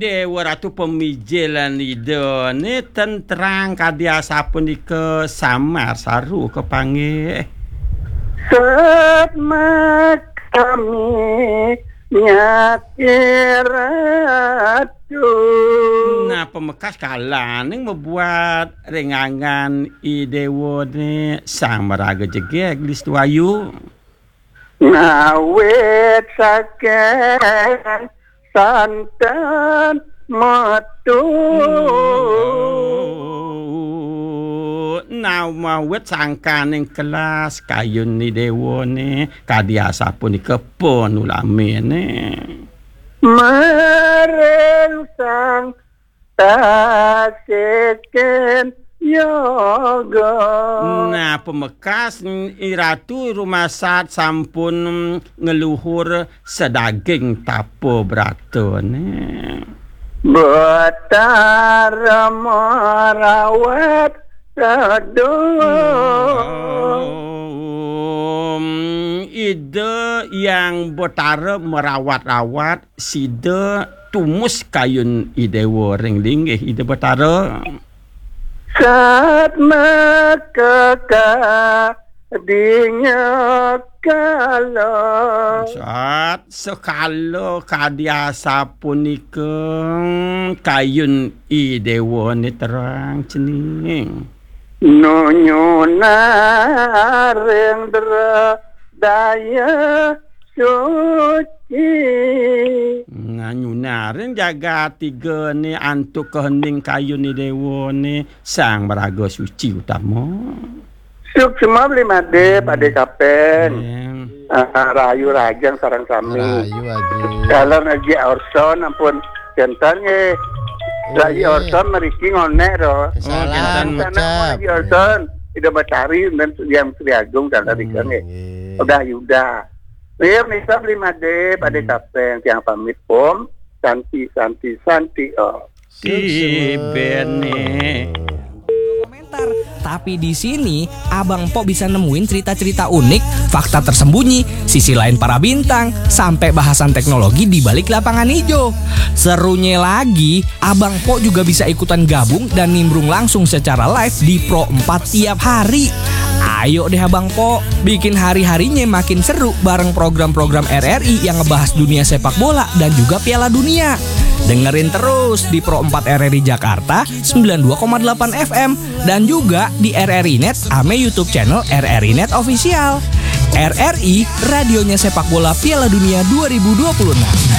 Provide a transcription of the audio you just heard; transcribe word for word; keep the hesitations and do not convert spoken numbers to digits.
Dewa Ratu pamijilan Ida né ten terang kadi asapunika samar saru kapanggih. Satma kami nyati Ratu. Nah, pamekas kalaning mabuat ring anggan I Dewa né Sang Maraga Jegég Listuayu. Ngawit saking santen metu. Nah, mawit sangkaning kelas kayun I Dewa né kadi asapunika panulaminé. Maring sang tasikin yoga. Nah, pamekas I Ratu rumasat sampun ngluhur sadaging tapa bratané. Betara marawat sedulur. Ida Hyang Betara marawat-rawat sida tumus kayun I Dewa ring linggih Ida Betara. Satma kekadinya kala. Sat sekala kadi asapunika kayun I Dewa né terang cening. Nunyunaring daya suci. Nah, nyunaring jagat tiga né antuk kehening kayun I Dewa né Sang Maraga Suci Utama. Suksma beli madé, Ade Kapeng. Ah, rahayu rahajeng sareng sami. Rahayu, Aji. Dalam Aji Orson ampun janten nggih. Rahayu Orson mriki ngonék ro. Salam Aji Orson, Ida Betari dan Hyang Sri Agung dan tadi kan nggih. Udah Yuda. Iya, misa beli madé, Ade Kapeng, tiang pamit pom. Santi, santi, santi, oh. Sibene. Komentar. Tapi di sini, Abang Pok bisa nemuin cerita-cerita unik, fakta tersembunyi, sisi lain para bintang, sampai bahasan teknologi di balik lapangan hijau. Serunya lagi, Abang Pok juga bisa ikutan gabung dan nimbrung langsung secara live di Pro empat tiap hari. Ayo deh Abang Pok, bikin hari-harinya makin seru bareng program-program R R I yang ngebahas dunia sepak bola dan juga Piala Dunia. Dengerin terus di Pro empat R R I Jakarta sembilan dua koma delapan F M dan juga di R R I Net ame YouTube channel R R I Net Official. R R I, radionya sepak bola Piala Dunia dua ribu dua puluh enam.